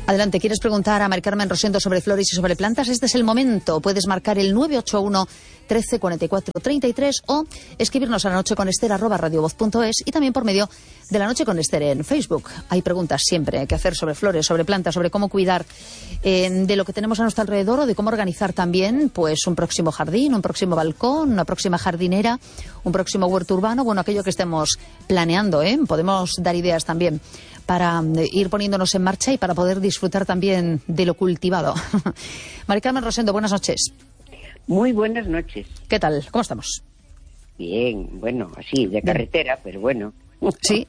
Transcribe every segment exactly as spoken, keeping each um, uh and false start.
Adelante, ¿quieres preguntar a Mari Carmen Rosendo sobre flores y sobre plantas? Este es el momento. Puedes marcar el nueve ocho uno, trece, cuarenta y cuatro, treinta y tres o escribirnos a la noche con Ester arroba radiovoz punto es y también por medio de La Noche con Ester en Facebook. Hay preguntas siempre que hacer sobre flores, sobre plantas, sobre cómo cuidar eh, de lo que tenemos a nuestro alrededor o de cómo organizar también pues un próximo jardín, un próximo balcón, una próxima jardinera, un próximo huerto urbano, bueno, aquello que estemos planeando, ¿eh? Podemos dar ideas también para ir poniéndonos en marcha y para poder disfrutar también de lo cultivado. Mari Carmen Rosendo, buenas noches. Muy buenas noches. ¿Qué tal? ¿Cómo estamos? Bien, bueno, así, de carretera, Bien. Pero bueno. Sí.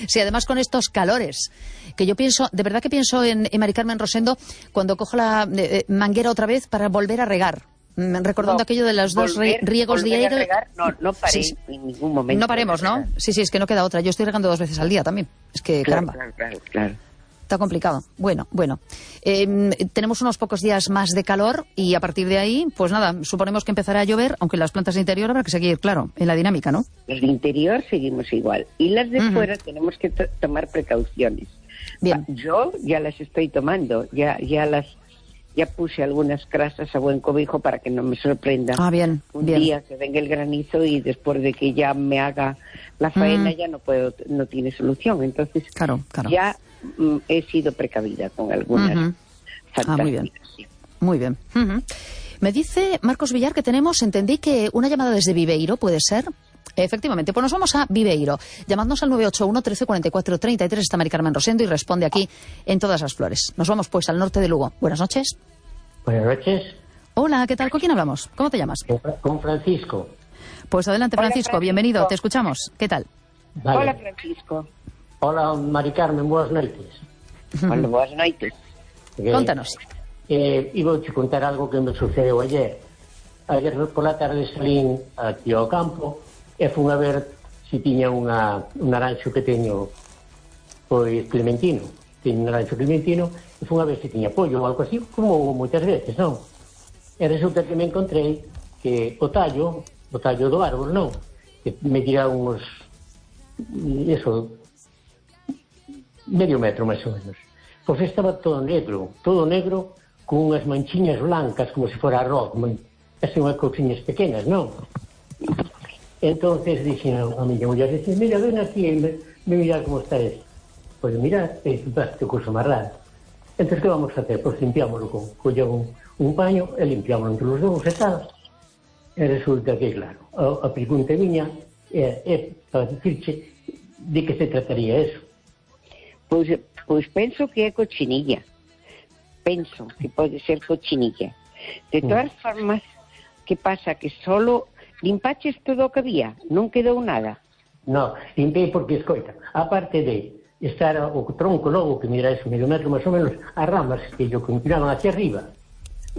Sí, además con estos calores, que yo pienso, de verdad que pienso en, en Mari Carmen Rosendo cuando cojo la eh, manguera otra vez para volver a regar. Recordando no, aquello de los dos volver, riegos diarios. No, no paré sí, en ningún momento. No paremos, ¿no? Sí, sí, es que no queda otra. Yo estoy regando dos veces al día también. Es que, claro, caramba. Claro, claro, claro. Está complicado. Bueno, bueno. Eh, tenemos unos pocos días más de calor y a partir de ahí, pues nada, suponemos que empezará a llover, aunque las plantas de interior habrá que seguir, claro, en la dinámica, ¿no? Las de interior seguimos igual. Y las de uh-huh. fuera tenemos que t- tomar precauciones. Bien. Yo ya las estoy tomando, ya, ya las... Ya puse algunas crasas a buen cobijo para que no me sorprenda ah, bien, un bien. día que venga el granizo y después de que ya me haga la faena mm. ya no puedo, no tiene solución. Entonces claro, claro. ya mm, he sido precavida con algunas uh-huh. fantasías. Ah, muy bien. Sí. Muy bien. Uh-huh. Me dice Marcos Villar que tenemos, entendí que una llamada desde Viveiro, ¿puede ser? Efectivamente, pues nos vamos a Viveiro. Llamadnos al nueve ocho uno, trece, cuarenta y cuatro, treinta y tres. Está Mari Carmen Rosendo y responde aquí en Todas las Flores. Nos vamos pues al norte de Lugo. Buenas noches. Buenas noches. Hola, ¿qué tal? ¿Con quién hablamos? ¿Cómo te llamas? Con Francisco. Pues adelante, Francisco. Hola, Francisco. Bienvenido. Te escuchamos. ¿Qué tal? Vale. Hola, Francisco. Hola, Mari Carmen. Buenas noites. Hola, buenas noites. Eh, Contanos. Eh, iba a contar algo que me sucedeu ayer. Ayer por la tarde salín aquí ao campo e fun a ver se tiña unha, un naranxo que teño pois clementino. Teño un naranxo clementino e fun a ver se tiña pollo ou algo así, como moitas veces, non? E resulta que me encontrei que o tallo, o tallo do árbol, non? Que me tira uns, eso, medio metro máis ou menos. Pois estaba todo negro, todo negro, con unhas manchiñas blancas, como se fora arroz, así unhas cousiñas pequenas, non? Entonces dixen a miña muller, dixen, mira, ven aquí, me, me mira como está esto. Pois mira, isto é cousa máis rara. Entón, que vamos a hacer? Pois limpiámoslo con, colleu un, un paño e limpiámoslo entre os dous e tal. E resulta que, claro, a, a pregunta miña é, é para dicirche de que se trataría eso. Pois, pois penso que é cochinilla. Penso que pode ser cochinilla. De todas mm. formas, que pasa? Que solo limpaches todo o que había? Non quedou nada? No, limpei porque, escoita, aparte de estar o tronco logo, que mira ese medio metro máis ou menos, as ramas que yo continuaban hacia arriba,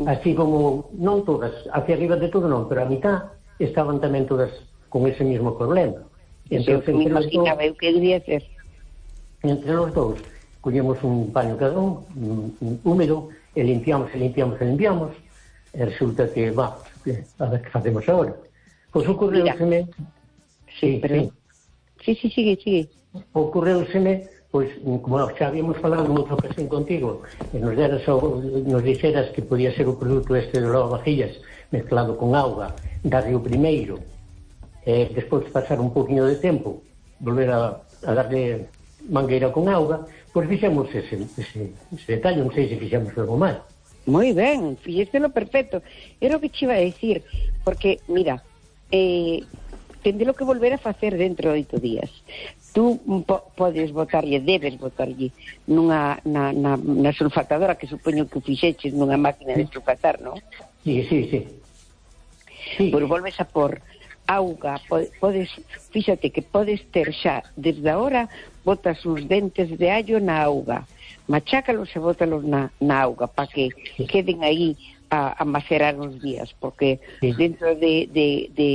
así como, non todas, hacia arriba de todo non, pero a mitad estaban tamén todas con ese mismo problema. Entón, me imaginaba eu que debía ser. Entre os dous, collemos un paño cada un, un húmedo, e limpiamos, e limpiamos, e limpiamos, e resulta que, va, a ver que facemos agora. Pois ocorreuseme... Sí, pero... Sí, sí, sigue, sigue. Ocorreuseme, pois, como nós xa habíamos falado en outra ocasión contigo, e nos, deras, nos dixeras que podía ser o produto este de lavavajillas mezclado con auga, darlle o primeiro, e despois pasar un poquinho de tempo, volver a, a darle mangueira con auga, pois fixemos ese, ese, ese detalle, non sei se fixemos algo mal. Moi ben, fixéstelo perfecto. Era o que te iba a decir, porque, mira, eh, tendelo que volver a facer dentro de oito días. Tú po- podes botarlle, debes botarlle nunha, na, na, na sulfatadora, que supoño que fixeches nunha máquina de sulfatar, non? Sí, sí, sí. sí. Pois volves a por auga, podes, fíxate que podes ter xa, desde agora, botas uns dentes de allo na auga, machácalos e bótalos na, na auga, para que queden aí a, a macerar uns días, porque sí. dentro de, de, de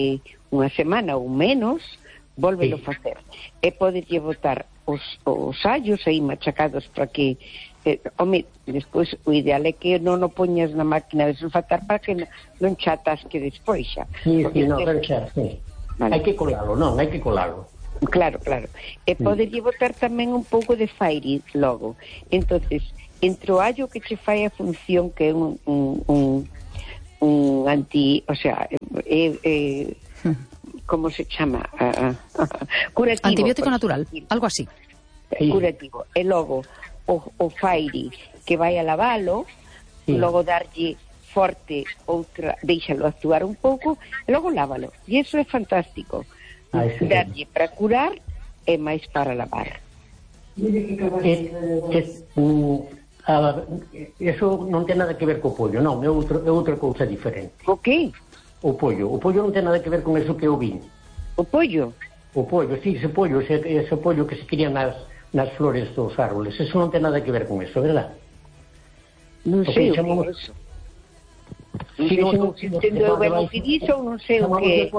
unha semana ou menos, volvelo sí. facer. E podes lle botar os, os allos aí machacados para que, eh, home, despois o ideal é que non o poñas na máquina de sulfatar para que non, non chatas que despois xa. Sí, sí, non, pero xa, sí. Vale. Hai que colalo, non, hai que colalo. Claro, claro. E poderlle botar tamén un pouco de fairy logo. Entonces, entre o allo que che fai a función que é un, un, un, un anti, o sea, é, é, como se chama? Uh, curativo. Antibiótico natural, algo así. Curativo. E logo o, o fairy que vai a lavalo, sí. Logo darlle forte outra, deixalo actuar un pouco e logo lávalo. E iso é fantástico. Ah, darlle para curar e máis para lavar. É, é, um, a, eso non ten nada que ver co pollo, non, é, outro, é outra cousa diferente. O que? O pollo. O pollo non ten nada que ver con eso que eu vin. O pollo? O pollo, sí, ese pollo, ese, ese pollo que se cría nas, nas flores dos árboles, eso non ten nada que ver con eso, verdad? Non sei o chamamos... que é eso. Si non entendo ben o que dixo, non sei o que...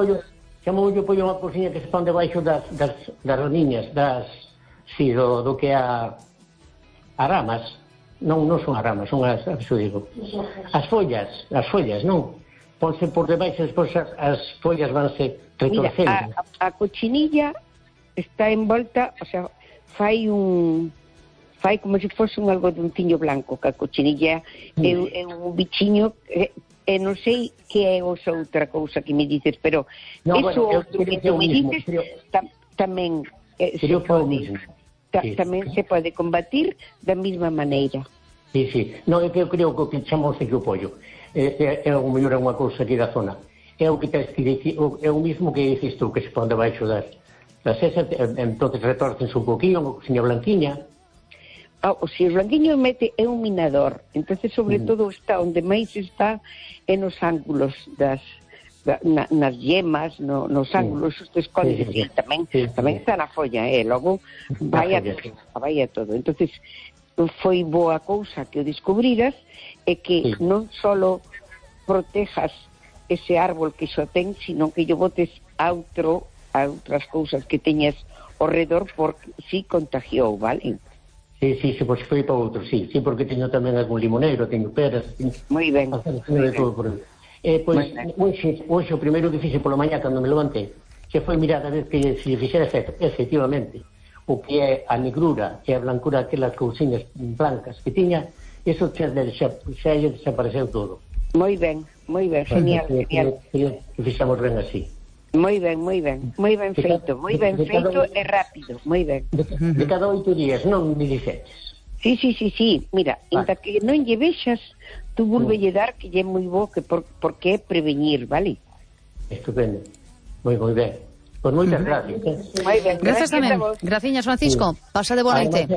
Chamamos o pollo unha cousiña que se pon debaixo das, das, das raniñas, das, sí, do, do que a, a ramas, non, non son as ramas, son as, eso digo, as follas, as follas, non? Ponse por debaixo, despois as, as follas vanse retorcendo. Mira, a, a cochinilla está envolta, o sea, fai un... fai como se fose un algodonciño blanco, que a cochinilla mm. é, é un bichiño... Que, e non sei que é esa outra cousa que me dices, pero no, eso bueno, outro que tú me dices creo, tam, tamén eh, se, pode, ta, sí. tamén se pode combatir da mesma maneira. Sí, sí. Non, é que eu creo que o que chamamos aquí o pollo é, é, é o mellor é unha cousa aquí da zona. É o que te, é o mismo que dices tú, que se pon debaixo das, das esas, entonces retorcense un poquinho, unha cousinha blanquiña. O se o blanquiño mete é un minador, entonces sobre mm. todo está onde máis está é nos ángulos das na, nas yemas, no, nos ángulos mm. os escondes, sí, sí, sí. tamén sí, tamén sí. Está na folla, eh, logo vai a, vai a todo. Entonces foi boa cousa que o descubriras e que sí. Non solo protejas ese árbol que xo ten, sino que yo botes a outro, a outras cousas que teñas ao redor porque si contagiou, vale? Sí, sí, sí, pois foi para outro, sí, sí, porque teño tamén algún limoneiro, teño peras, teño... Moi ben, moi ben. Por... Eh, pois, hoxe, hoxe, o primeiro que fixe polo mañá, cando me levantei, que foi mirar a ver que se lle fixera efecto, efectivamente, o que é a negrura e a blancura, aquelas cousiñas blancas que tiña, eso xa, xa, xa desapareceu todo. Moi ben, moi ben, genial, que, genial. Que, que fixamos ben así. Moi ben, moi ben, moi ben feito, moi ben feito e rápido, moi ben. De, de cada oito días, non me dixetes. Sí, sí, sí, sí, mira, vale. Inda que non lle vexas, tú volvelle dar que lle é moi bo, que por, porque é prevenir, vale? Estupendo, moi, moi ben. Pois moitas gracias. Eh? Moi ben, gracias tamén. Graciñas, Francisco. Sí. Pasa de boa noite.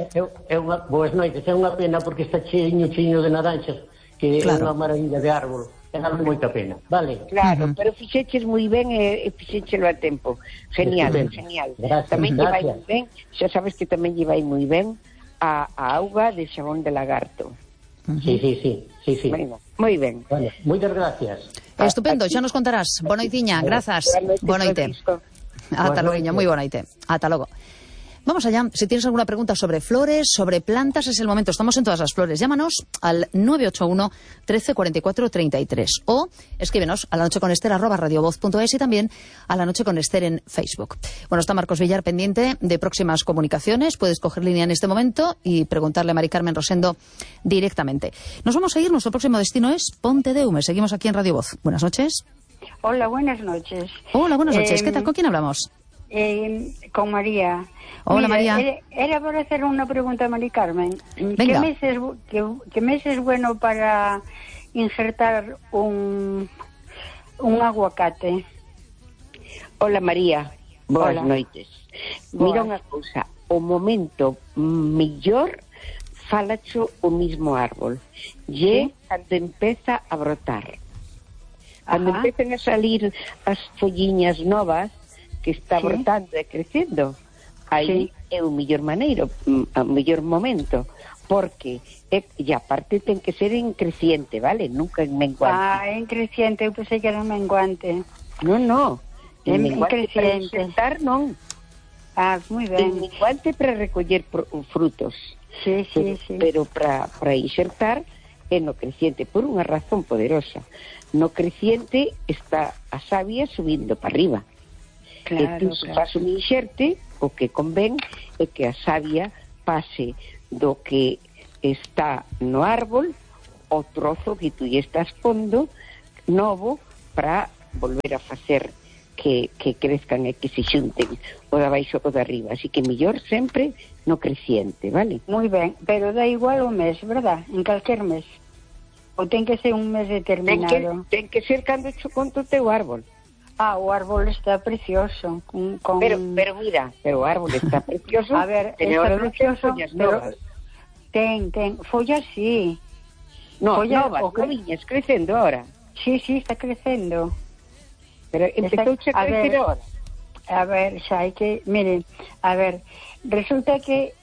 É unha boas noites, é unha pena porque está cheiño, cheiño de naranxas, que claro. É unha maravilla de árbol. Ten moita pena, vale? Claro, uh -huh. Pero fixeches moi ben e, e fixéchelo a tempo. Genial, Estupendo. Genial. Gracias, tamén lle vai moi ben, xa sabes que tamén lle vai moi ben a, a auga de xabón de lagarto. Uh -huh. Sí, sí, sí, sí, sí. Bueno, moi ben. Vale, moitas gracias. Estupendo, xa nos contarás. Boa noitiña, grazas. Boa noite. Ata logo, moi boa noite. Ata logo. Vamos allá. Si tienes alguna pregunta sobre flores, sobre plantas, es el momento. Estamos en todas las flores. Llámanos al nueve ocho uno, trece, cuarenta y cuatro, treinta y tres o escríbenos a la noche con Ester arroba radiovoz punto es y también a la noche con Ester en Facebook. Bueno, está Marcos Villar pendiente de próximas comunicaciones. Puedes coger línea en este momento y preguntarle a Mari Carmen Rosendo directamente. Nos vamos a ir. Nuestro próximo destino es Ponte de Ume. Seguimos aquí en Radio Voz. Buenas noches. Hola, buenas noches. Hola, buenas noches. Eh, ¿Qué tal? ¿Con quién hablamos? Eh, con María. Hola, Mira, María. Era, era para hacer una pregunta a Mari Carmen. Venga. ¿Qué mes es, qué, qué mes es bueno para injertar un, un aguacate? Hola, María. Boas Hola. noites. Boas. Mira unha cousa. O momento mellor falacho o mismo árbol. E ¿Sí? Cando empeza a brotar. Cando Ajá. empezan a salir as folliñas novas que está ¿Sí? brotando e crecendo, aí sí. É o mellor maneiro, o mellor momento, porque é, e aparte ten que ser en creciente, vale? Nunca en menguante. Ah, en creciente, eu pensei que era en menguante. Non, non, en, en menguante creciente. Para insertar, non. Ah, moi ben. En menguante para recoller frutos. Sí, sí, pero, sí. Pero para, para insertar é no creciente, por unha razón poderosa. No creciente está a savia subindo para arriba. Claro, e tú claro. faz un inxerte o que convén é que a savia pase do que está no árbol o trozo que tú lle estás pondo novo para volver a facer que, que crezcan e que se xunten o de abaixo o de arriba, así que mellor sempre no creciente, vale? Moi ben, pero dá igual o mes, verdad? En calquer mes. Ou ten que ser un mes determinado? Ten que, ten que ser cando cho conto o teu árbol. Ah, o árbol está precioso. Con, con... Pero, pero mira, pero o árbol está precioso. A ver, está precioso, pero ten, ten, follas sí. No, follas, novas, o que... noviñas, crecendo ahora. Sí, sí, está crecendo. Pero empezou a crecer ahora. A ver, xa hai que... Miren, a ver, resulta que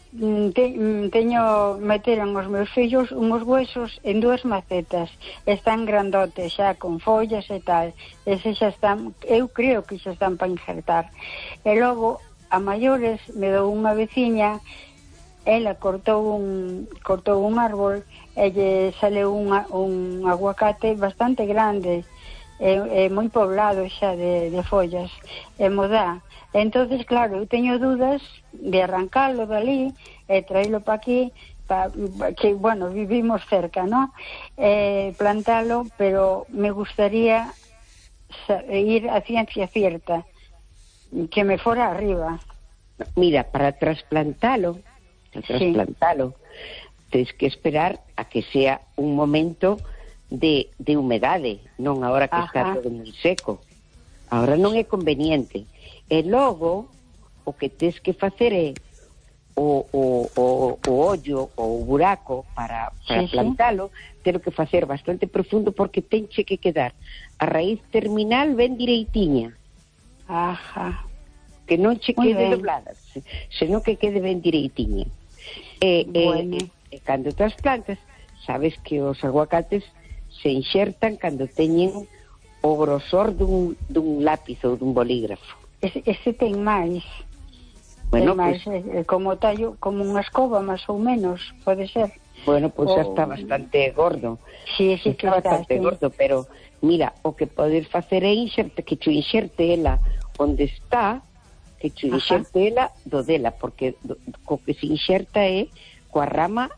te, teño, meteron os meus fillos unhos huesos en dúas macetas, están grandotes xa, con follas e tal, ese xa están, eu creo que xa están para injertar, e logo a maiores me dou unha veciña, ela cortou un cortou un árbol e lle saleu unha, un aguacate bastante grande, é, é moi poblado xa de, de follas, e mo dá. Entonces, claro, eu teño dudas de arrancalo dali e traílo pa aquí, pa, que, bueno, vivimos cerca, ¿no? Eh, plantalo, pero me gustaría ir a ciencia cierta, que me fora arriba. Mira, para trasplantalo, para trasplantalo, sí, tens que esperar a que sea un momento de, de humedade, non agora que Ajá. está todo moi seco. Agora non é conveniente. E logo, o que tens que facer é o, o, o, o ollo ou o buraco para, para sí, plantalo, sí. Tero que facer bastante profundo porque tenche que quedar a raíz terminal ben direitiña. Ajá. Que non che Muy quede ben. doblada, senón que quede ben direitiña. E, bueno. e, e cando as plantas, sabes que os aguacates se inxertan cando teñen o grosor dun, dun lápiz ou dun bolígrafo. Ese, ese ten máis. Bueno, ten máis, pues, eh, como tallo, como unha escoba máis ou menos, pode ser. Bueno, pois pues o... está bastante gordo. Sí, sí, está que bastante está, gordo, sí. Pero mira, o que podes facer é inxerte, que te inxerte ela onde está, que te inxerte ela do dela, porque do, co que se inxerta é coa rama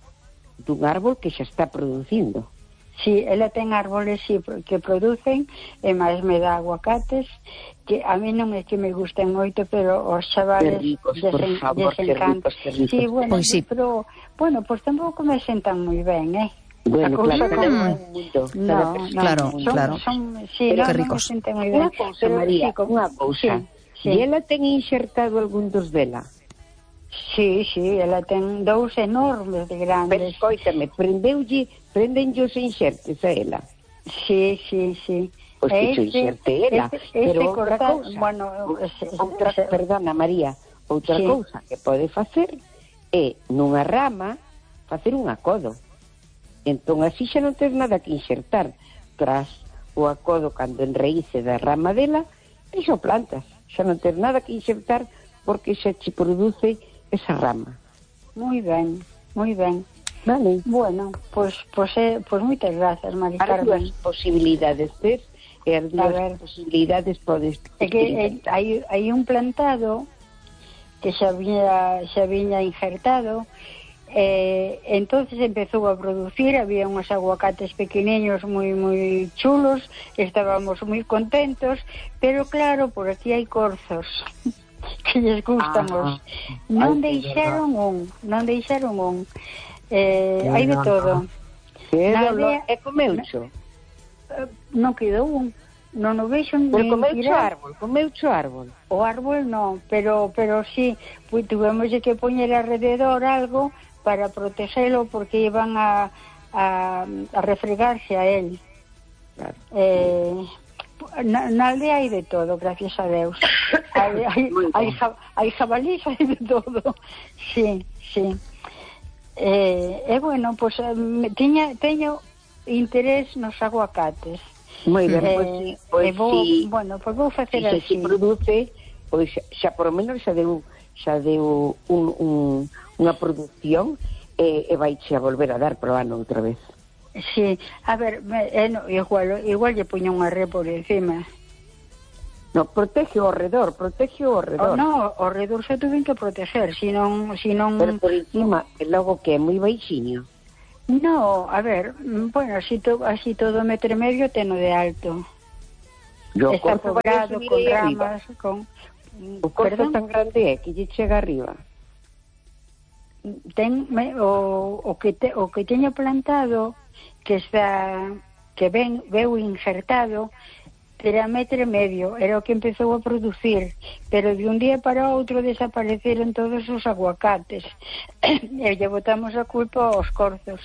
dun árbol que xa está producindo. Sí, ela ten árboles sí, que producen, e máis me dá aguacates, que a mí non é que me gusten moito, pero os chavales ricos, desen, favor, desencantan. Sí, bueno, pues sí. pero, bueno, pues tampouco me sentan moi ben, eh? Bueno, claro, como... no, mundo, no, no, claro, son, claro. Son, sí, pero no, que ricos. Non me senten moi ben. Unha cousa, pero, María, sí, como... unha cousa. Sí, sí. E ela ten inxertado algún dos dela? Sí, sí, ela ten dous enormes de grandes. Pero escoítame, prendeulle, prendenlle os inxertes a ela? Sí, sí, sí. Pois que este, inxerte ela, este, este pero outra cortar, cousa, bueno, outra, se, perdona María, outra sí. cousa que pode facer é nunha rama facer un acodo. Entón así xa non tens nada que inxertar. Tras o acodo cando enraíce da rama dela, iso plantas, xa non tens nada que inxertar porque xa te produce esa rama. Moi ben, moi ben. Vale. Bueno, pois pues, pues, eh, pues moitas grazas, Mari Carmen. As posibilidades tes, e as dúas posibilidades podes... É que eh, hai, hai un plantado que xa viña, xa viña injertado, eh, entonces empezou a producir, había uns aguacates pequeniños moi moi chulos, estábamos moi contentos, pero claro, por aquí hai corzos que lles gustan os... Non deixaron un, non deixaron un. Eh, hai de todo. É comeucho? Non quedou un. Non o vexo nin tirar. Comeucho árbol, comeucho árbol. O árbol non, pero pero sí, pues, tuvemos que poñer alrededor algo para protegelo porque iban a, a, a refregarse a él. Claro. Eh, na, na aldea hai de todo, gracias a Deus. hai, hai, hai, hai jabalís, hai de todo. Sí, sí. Eh, e eh, bueno, pues tiña, teño interés nos aguacates. Moi ben, eh, pois, pois vou, si, bueno, pois vou facer si así. Se produce, pois xa por lo menos xa deu xa deu un, un, unha produción e, e vai xa volver a dar pro ano outra vez. Sí, a ver, me, eh, no, igual, igual lle puño unha re por encima. No, protege o redor, protege o redor. Oh, no, o redor se tuven que proteger, si non... Si non... Pero por encima, logo que é moi baixiño. No, a ver, bueno, así, to, así todo metro e medio teno de alto. Yo Está poblado con ramas, arriba. con... O corzo tan grande é que lle chega arriba. Ten, me, o, o, que te, o que teño plantado, que está... que ven, veu injertado, era metro e medio, era o que empezou a producir, pero de un día para outro desapareceron todos os aguacates e lle botamos a culpa aos corzos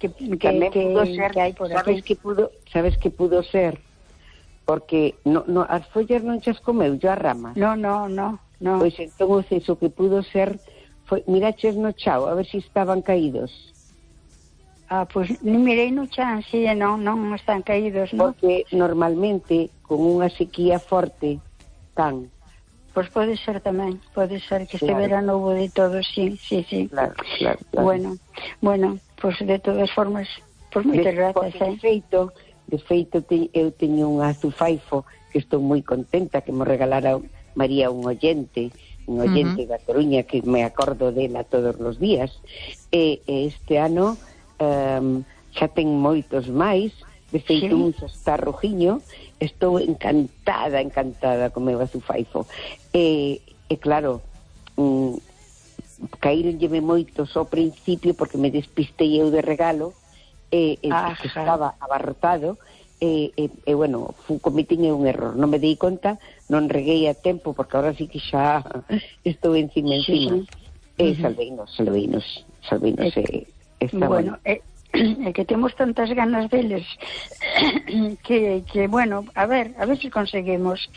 que, que, que, pudo ser, que hai por sabes aquí. que pudo, sabes que pudo ser porque no, no, as follas non chas comeu, yo as ramas. No, no, no, no. Pois entón o ceso que pudo ser foi, miraches no chao, a ver se si estaban caídos. Ah, pois pues, mirei no chan, si, non, non están caídos, non? Porque normalmente con unha sequía forte tan. Pois pues pode ser tamén, pode ser que claro. este verano houve de todo, sí, sí, sí. Claro, claro, claro. Bueno, bueno, pois pues de todas formas, pois pues moitas grazas, eh. De feito, de feito te, eu teño un azufaifo que estou moi contenta que me regalara María un oyente, un oyente uh -huh. da Coruña que me acordo dela todos os días. E, e este ano Um, xa ten moitos máis, de feito sí. Un xa está rojiño, estou encantada, encantada con meu azufaifo. E, e claro, um, caíronlleme moitos ao principio porque me despistei eu de regalo, e, e que estaba abarrotado, e, e, e bueno, cometín un error, non me dei conta, non reguei a tempo, porque agora sí que xa estou encima, encima. Sí, sí. E salveinos, salveinos, salveinos, e... Está bueno, é eh, que temos tantas ganas deles que, que, bueno, a ver, a ver se si conseguimos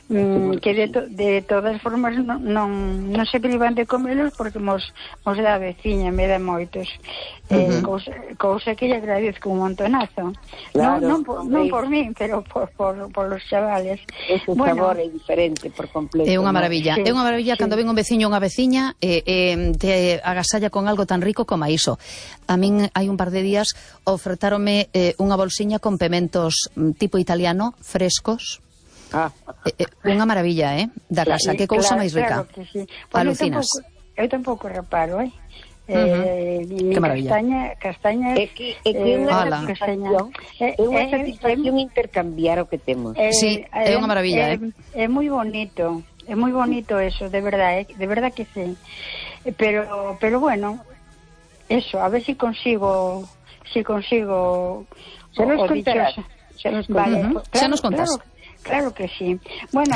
mm, que de, to, de todas formas non, non, non se privan de comelos porque mos, mos da veciña, me dá moitos. Uh -huh. eh, cousa, cousa que lle agradezco un montonazo. Claro, non, non, por, non por min, pero por, por, por los chavales. Ese bueno, sabor é diferente por completo. É unha maravilla, sí, é unha maravilla sí. Cando ven un veciño ou unha veciña eh, eh, te agasalla con algo tan rico como iso. A min hai un par de días ofertáronme eh, unha bolsiña con pementos tipo italiano, frescos. Ah. Eh, eh, unha maravilla, eh, da casa, que cousa claro, máis rica. Claro que sí. Pues alucinas. Eu tampouco reparo, eh. Uh -huh. eh, que maravilla. Castaña, castañas, é que é que eh, unha satisfacción, é unha satisfacción eh, intercambiar o que temos. Eh, sí, é unha maravilla, eh. É, é moi bonito, é moi bonito eso, de verdad, eh, de verdad que sí. Pero pero bueno, eso, a ver si consigo si consigo se nos contarás. Se nos vale, uh -huh. pues, claro, se nos contas. Claro, claro que sí. Bueno,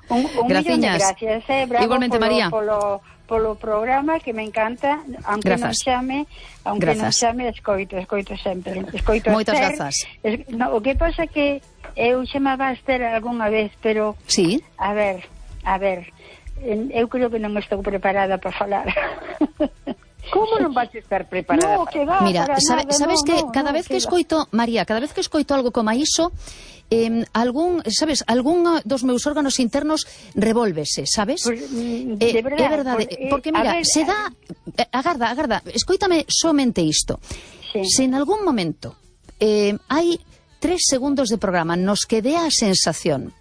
un, un millón de gracias, eh, bravo. Igualmente, polo, María. Polo, polo programa que me encanta, aunque grazas. non chame, aunque grazas. non chame, escoito, escoito sempre. Escoito moitas Esther, grazas. Es, no, o que pasa que eu chamaba a Esther algunha vez, pero sí. A ver, a ver, eu creo que non estou preparada para falar. Como non vas a estar preparada? No, que va, mira, sabe, nada, sabes no, que no, cada no, vez que, que escoito, María, cada vez que escoito algo como iso, eh, algún, sabes, algún dos meus órganos internos revólvese, sabes? Pues, de eh, verdade, é verdade, porque, porque mira, ver, se dá, eh, agarda, agarda, escoítame somente isto. Sí. Se en algún momento eh, hai tres segundos de programa nos que dé a sensación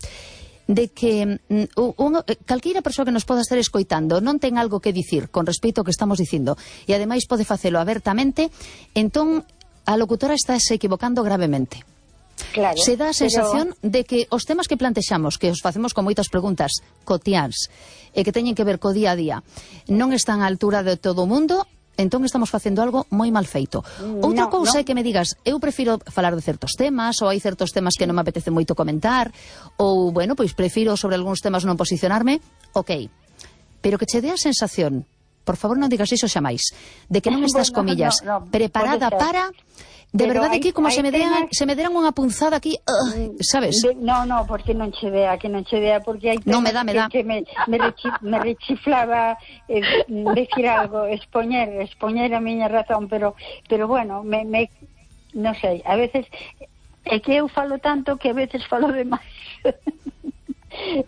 de que un, calqueira persoa que nos poda estar escoitando non ten algo que dicir con respecto ao que estamos dicindo e ademais pode facelo abertamente, entón a locutora está se equivocando gravemente. Claro, se dá a sensación pero... de que os temas que plantexamos, que os facemos con moitas preguntas cotiáns e que teñen que ver co día a día, non están á altura de todo o mundo, entón estamos facendo algo moi mal feito. Outra no, cousa no. é que me digas, eu prefiro falar de certos temas, ou hai certos temas que non me apetece moito comentar, ou, bueno, pois prefiro sobre algúns temas non posicionarme, ok. Pero que che dé a sensación, por favor non digas iso xamais, de que non estás, bueno, comillas, no, no, preparada para... De pero verdade hai, que como se me, dean, temas... se me deran unha punzada aquí, uh, sabes? De, no, no, porque non che dea, que non che dea, porque hai temas no, me dá, me dá. que, que me, me, rechi, me rechiflaba eh, decir algo, expoñer, expoñer a miña razón, pero pero bueno, me, me non sei, a veces é que eu falo tanto que a veces falo demais.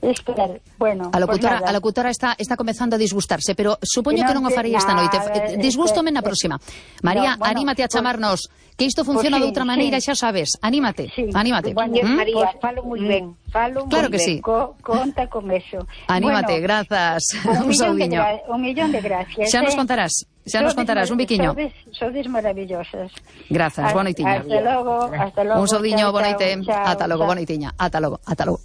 Espera, bueno, A locutora, pues a locutora está, está comezando a disgustarse, pero supoño Que que non non o te- faría esta nada, noite. eh, Disgústome eh, na próxima. María, no, bueno, anímate a pues- chamarnos, que isto funciona pues sí, de outra maneira, sí. xa sabes. Anímate, Sí, anímate. bueno, ¿Mm? María, Pues, falo moi mm, ben, falo Claro moi que ben. sí. Co conta con eso. Anímate, Bueno, grazas. un, Un millón de saudiño. gra un millón de gracias. Xa nos eh. contarás, xa nos Sodes contarás, un mar- biquiño. Sodes, sodes maravillosas. Grazas, boa noitiña. Hasta logo, hasta logo. Un saudiño, chao, boa chao, noite. chao, Ata logo, chao. boa noitiña. Ata logo, ata logo.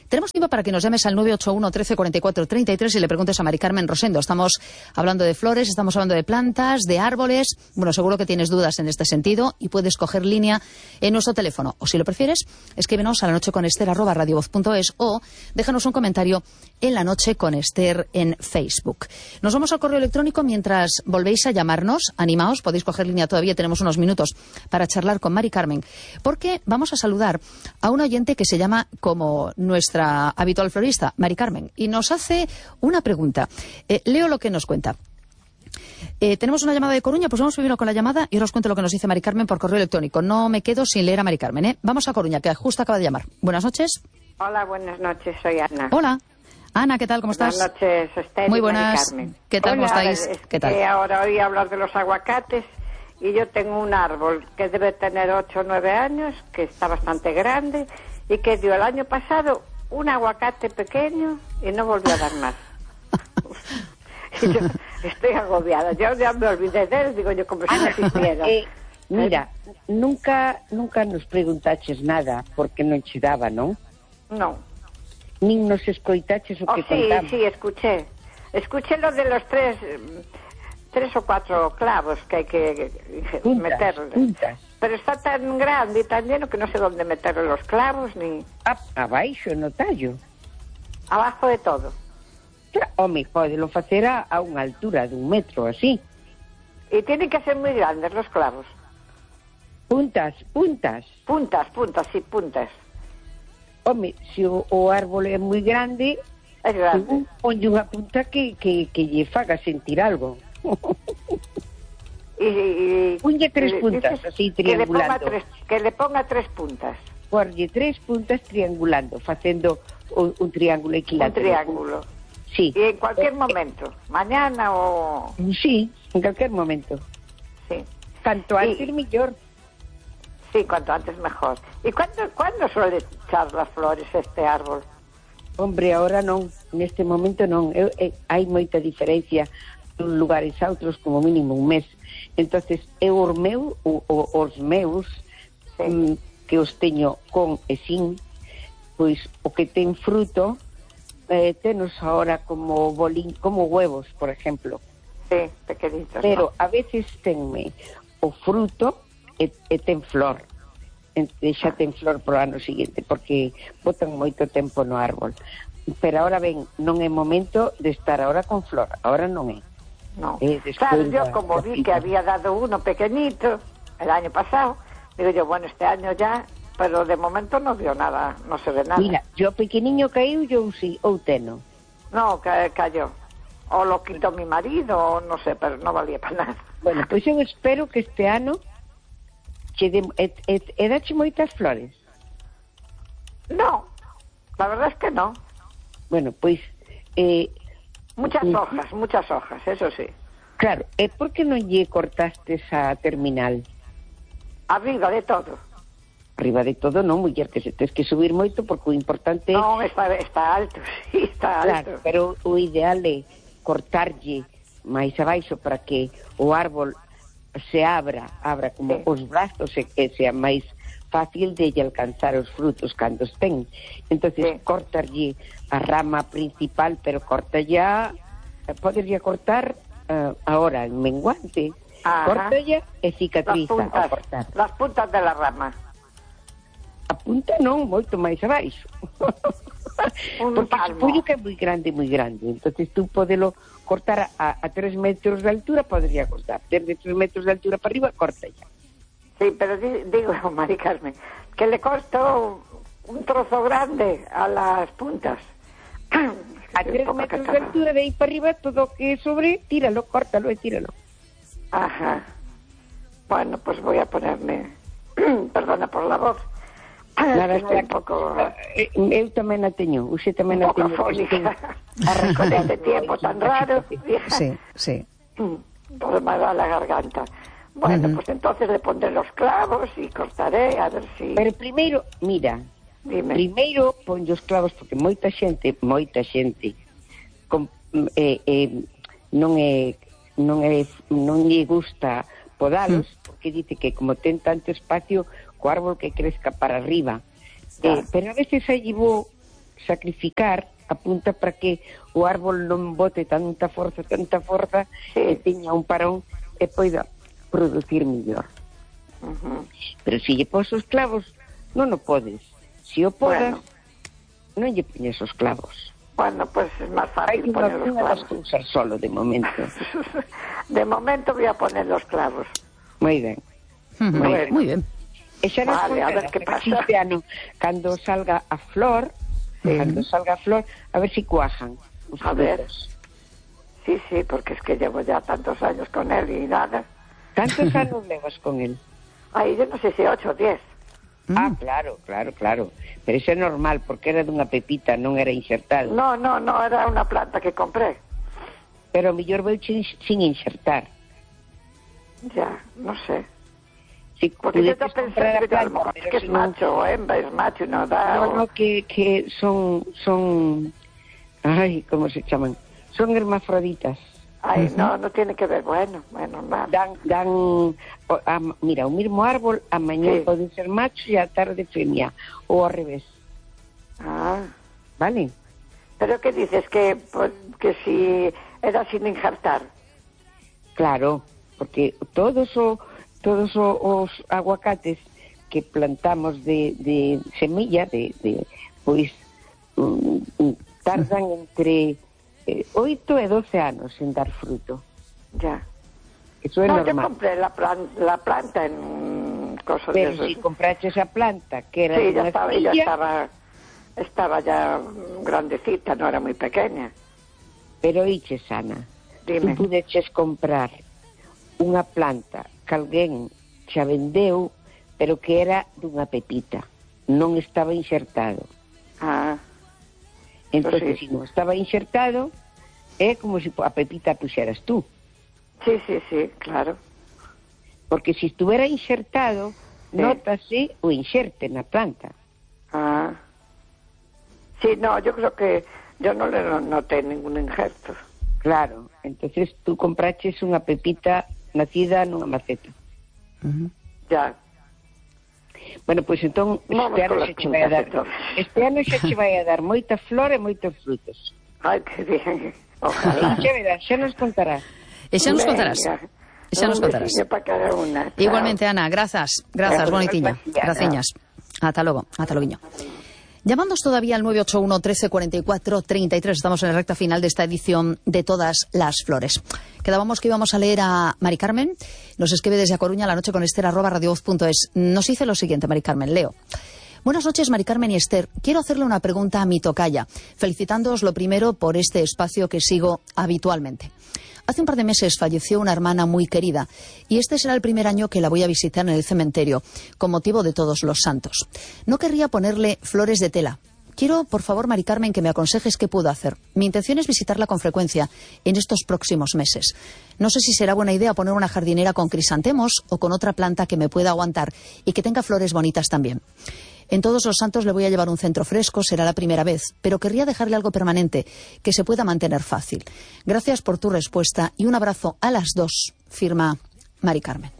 Tenemos tiempo para que nos llames al nueve ocho uno, trece, cuarenta y cuatro, treinta y tres y le preguntes a Mari Carmen Rosendo. Estamos hablando de flores, estamos hablando de plantas, de árboles. Bueno, seguro que tienes dudas en este sentido y puedes coger línea en nuestro teléfono. O si lo prefieres, escríbenos a la noche con Esther arroba radiovoz punto es o déjanos un comentario en La Noche con Esther en Facebook. Nos vamos al correo electrónico mientras volvéis a llamarnos. Animaos, podéis coger línea todavía, tenemos unos minutos para charlar con Mari Carmen. Porque vamos a saludar a un oyente que se llama como nuestra habitual florista, Mari Carmen, y nos hace una pregunta. Eh, leo lo que nos cuenta. Eh, tenemos una llamada de Coruña, pues vamos primero con la llamada y ahora os cuento lo que nos dice Mari Carmen por correo electrónico. No me quedo sin leer a Mari Carmen, ¿eh? Vamos a Coruña, que justo acaba de llamar. Buenas noches. Hola, buenas noches, soy Ana. Hola. Ana, ¿qué tal? ¿Cómo estás? Buenas noches, Esther. Muy y Mari buenas. Carmen. ¿Qué tal? Hola, ¿Cómo estáis? Es ¿Qué tal? Que ahora oí hablar de los aguacates y yo tengo un árbol que debe tener ocho o nueve años, que está bastante grande y que dio el año pasado un aguacate pequeño y no volvió a dar más. Y yo estoy agobiada. Yo ya me olvidé de él, digo yo, como si no existiera. Eh, mira, nunca nunca nos preguntaches nada porque non che daba, non? No. Nin nos escoitaches o Oh, que sí, contamos. sí, escuché. Escuché lo de los tres, mm, tres o cuatro clavos que hay que Puntas, meterle. puntas. Pero está tan grande y tan lleno que no sé dónde meterle los clavos ni A, abaixo, no tallo. abajo de todo. Claro, home, podelo facer a, a unha altura dun metro, así. Y tienen que ser muy grandes los clavos. Puntas, puntas. Puntas, puntas, sí, puntas. Home, se o, o árbol é moi grande, Es grande. según ponlle unha punta que, que, que lle faga sentir algo. Y, y- Ponlle tres y puntas, dices así, que le ponga triangulando. tres, que le ponga tres puntas. Porlle tres puntas triangulando, facendo un, un triángulo Un equilátero. triángulo. Sí. Y en cualquier Eh, momento. Mañana o... Sí, en cualquier momento. Sí. Tanto antes, Y- mellor. Sí, cuanto antes mejor. ¿Y cuándo, cuándo suele echar las flores este árbol? Hombre, ahora non, neste momento non. Eu, eh, hai moita diferencia dun lugares a outros, como mínimo un mes. Entonces, eu os meu, o, o, os meus, Sí. mm, que os teño con e sin, pois o que ten fruto, eh, tenos ahora como bolín, como huevos, por ejemplo. Sí, pequeñitos. Pero a veces tenme o fruto e, e ten flor. E xa ten flor pro ano seguinte, porque botan moito tempo no árbol. Pero ahora ben, non é momento de estar ahora con flor, ahora non é. No. Eh, después Claro, yo la- como la vi pica. que había dado uno pequeñito el año pasado, digo yo, bueno, este año ya, pero de momento no vio nada, no se ve nada. Mira, yo pequeniño caíu, yo sí, ou teno. No, ca- cayó. O lo quitó mi marido, o no sé, pero no valía para nada. Bueno, pois eu espero que este ano che de, e, e, e dache moitas flores. No, la verdad es que no. Bueno, pois eh, Muchas Mm. hojas, muchas hojas, eso sí. claro, e por que non lle cortaste a terminal? Arriba de todo. Arriba de todo, non, muller, que se tes que subir moito, porque o importante é... No, está, está alto, sí, está Claro, alto. pero o ideal é cortarlle máis abaixo para que o árbol se abra, abra como Sí. os brazos e que sea máis fácil de lle alcanzar os frutos cando estén. Entonces, Sí. cortarlle a rama principal, pero corta ya, poderlle cortar uh, ahora en menguante. Ajá. Corta ya e Las cicatriza ao puntas, cortar. las puntas de la rama. A punta non, moito máis abaixo. Un Porque palmo. supoño que é moi grande, moi grande. Entonces tú podelo cortar a, a tres metros de altura, podría cortar. Desde tres metros de altura para arriba, corta ya. Sí, pero di- digo, Mari Carmen, que le costó un trozo grande a las puntas. A tres Poca metros de cachorra. altura, de aí para arriba, todo o que sobre, tíralo, córtalo e tíralo. Ajá. Bueno, pues voy a ponerme, perdona por la voz, Nada, está un pouco... Eu tamén a teño, usted tamén a un pouco teño. afónica. Con este tiempo tan raro. Sí, sí. Todo me da la garganta. Bueno, uh-huh. Pues entonces le pondré los clavos y cortaré, a ver si... Pero primeiro, mira, Dime. primeiro pon os clavos, porque moita xente, moita xente, com, eh, eh, non é, non é, non lle gusta podalos, uh-huh. Porque dice que como ten tanto espacio, co árbol que crezca para arriba. Eh, pero a veces aí vou sacrificar a punta para que o árbol non bote tanta forza, tanta forza, sí. E teña un parón e poida producir mellor. Uh-huh. Pero se lle pos os clavos, non o podes. Se o podas, bueno. Non lle poñes os clavos. Bueno, pues es máis fácil poner os clavos. Hai que usar solo de momento. De momento voy a poner los clavos. Moi ben. Uh-huh. Moi ben. Moi ben. E xa nos vale, a ver que pasa. Ano, cando salga a flor, sí. Cando salga a flor, a ver si cuajan os a ver. Sí, sí, porque es que llevo ya tantos años con él y nada. ¿Tantos años levas con él? Ay, yo no sé si ocho o diez. Ah, claro, claro, claro. Pero eso é normal, porque era dunha pepita, non era insertado. No, no, no, era unha planta que compré. Pero mellor veu sin insertar. Ya, no sé. Si porque yo estoy pensando que, planta, que es no... macho o hembra, es macho, no da... No, o... no, que, que son, son... Ay, ¿cómo se llaman? Son hermafroditas. Ay, uh-huh. no, no tiene que ver, bueno, bueno, nada. Dan, dan, o, a, mira, o mismo árbol, a mañana sí. Pode ser macho e a tarde femia, ou ao revés. Ah. Vale. Pero que dices, que, que si era sin injertar? Claro, porque todos o... todos os aguacates que plantamos de, de semilla, de, de pois um, tardan entre eh, oito e doce anos en dar fruto. Ya. Eso é no, normal. Yo compré la, plan, la planta en cosas Pero de esos. si compraste esa planta, que era sí, ya una estaba, semilla, ya estaba, estaba ya grandecita, no era muy pequeña. Pero oiche, Ana, dime. Tú pudeches comprar unha planta que alguén xa vendeu, pero que era dunha pepita, non estaba insertado. Ah. Entón, sí. Se non estaba insertado, é como se a pepita puxeras tú. Sí, sí, sí, claro. Porque se estuviera insertado, sí. Nótase o inserte na planta. Ah. Sí, no, yo creo que yo no le noté ningún injerto. Claro, entonces tú compraches unha pepita nacida nunha maceta. Uh-huh. Ya. Bueno, pois pues, entón este ano xa che vai a dar este ano xa che vai a dar moita flor e moitos frutos. Ai, que bien. Ojalá. Xa verás, xa nos contarás. E xa nos contarás. E xa nos contarás. Para cada una. Igualmente, Ana, grazas. Grazas, bonitiña. Graciñas. Ata logo, ata loguiño. Llamándonos todavía al nueve ocho uno, trece, cuarenta y cuatro, treinta y tres. Estamos en la recta final de esta edición de Todas las Flores. Quedábamos que íbamos a leer a Mari Carmen. Nos escribe desde A Coruña, la noche con Esther, arroba radiovoz punto es. Nos dice lo siguiente, Mari Carmen, leo. Buenas noches, Mari Carmen y Esther. Quiero hacerle una pregunta a mi tocaya, felicitándoos lo primero por este espacio que sigo habitualmente. Hace un par de meses falleció una hermana muy querida y este será el primer año que la voy a visitar en el cementerio, con motivo de Todos los Santos. No querría ponerle flores de tela. Quiero, por favor, Mari Carmen, que me aconsejes qué puedo hacer. Mi intención es visitarla con frecuencia en estos próximos meses. No sé si será buena idea poner una jardinera con crisantemos o con otra planta que me pueda aguantar y que tenga flores bonitas también. En Todos los Santos le voy a llevar un centro fresco, será la primera vez, pero querría dejarle algo permanente, que se pueda mantener fácil. Gracias por tu respuesta y un abrazo a las dos, firma Mari Carmen.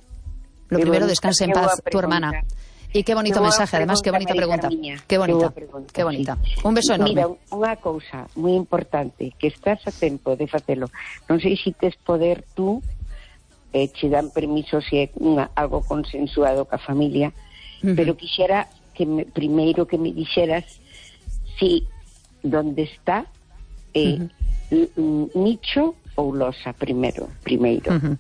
Lo primero, descanse en paz tu hermana. Y qué bonito mensaje, además, qué bonita pregunta. Qué bonita, qué bonita. Un beso enorme. Mira, unha cousa moi importante, que estás a tempo de facelo. Non sei se tes poder tú, eh, che dan permiso se é unha, algo consensuado ca familia, uh-huh. Pero quixera que me, primeiro que me dixeras si donde está eh, uh-huh. nicho ou losa primeiro, primeiro. Uh-huh.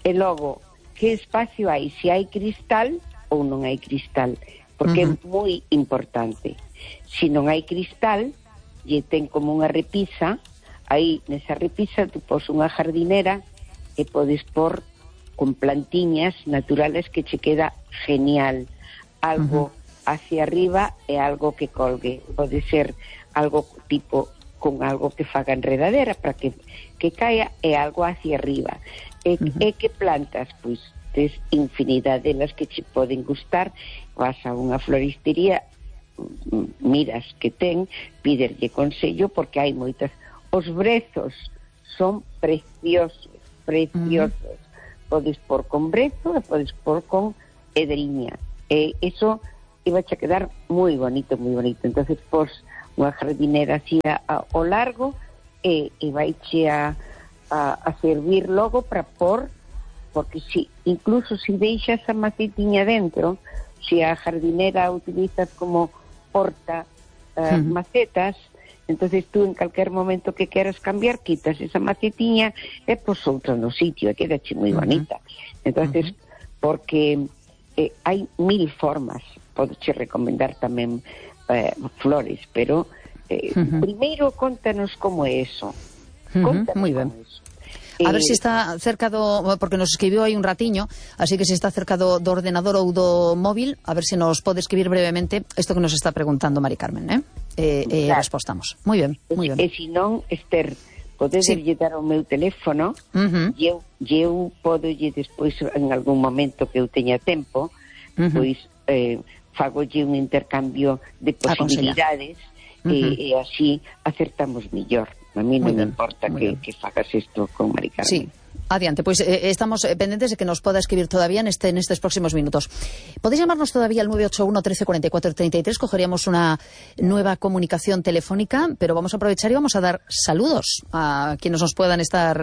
E logo, que espacio hai? Se hai cristal ou non hai cristal, porque uh-huh. é moi importante. Se non hai cristal, e ten como unha repisa, aí nesa repisa tu pos unha jardinera e podes pôr con plantiñas naturales que che queda genial. Algo uh-huh. hacia arriba é algo que colgue, pode ser algo tipo con algo que faga enredadera para que, que caia, é algo hacia arriba. E, uh-huh. e que plantas? Pois tes infinidade delas que che poden gustar, vas a unha floristería, miras que ten, píderlle consello porque hai moitas. Os brezos son preciosos, preciosos. Uh-huh. Podes pôr con brezo e podes pôr con edriña. E iso iba a quedar moi bonito, moi bonito. Entonces, pos unha jardinera así a, a, ao largo e, e vaiche a, a, a servir logo para pôr, porque si, incluso se si deixas a macetiña dentro, se si a jardinera utilizas como porta uh, uh-huh. macetas, entonces tú en calquer momento que queras cambiar, quitas esa macetiña e pos outra no sitio, e quedache moi uh-huh. bonita. Entonces, uh-huh. porque eh, hai mil formas, podeche recomendar tamén eh, flores, pero eh, uh-huh. primeiro contanos como é eso. Contanos uh-huh. Muy ben. Eso. A ver se si está cerca do... Porque nos escribiu aí un ratiño, así que se si está cerca do, do ordenador ou do móvil, a ver se si nos pode escribir brevemente isto que nos está preguntando Mari Carmen, eh? E, e claro. Respostamos. Moi ben, moi ben. E se non, Esther, podes sí. dar o meu teléfono, uh-huh. e eu, eu podo lle despois, en algún momento que eu teña tempo, uh-huh. pois eh, fagolle un intercambio de posibilidades, uh-huh. e, e así acertamos millor. A mí non me importa que, que fagas isto con Mari Carmen. Sí, adiante, pois pues, eh, estamos pendentes de que nos poda escribir todavía neste, nestes próximos minutos. Podéis llamarnos todavía al nueve ocho uno, trece, cuarenta y cuatro, treinta y tres, cogeríamos una nueva comunicación telefónica, pero vamos a aprovechar y vamos a dar saludos a quienes nos puedan estar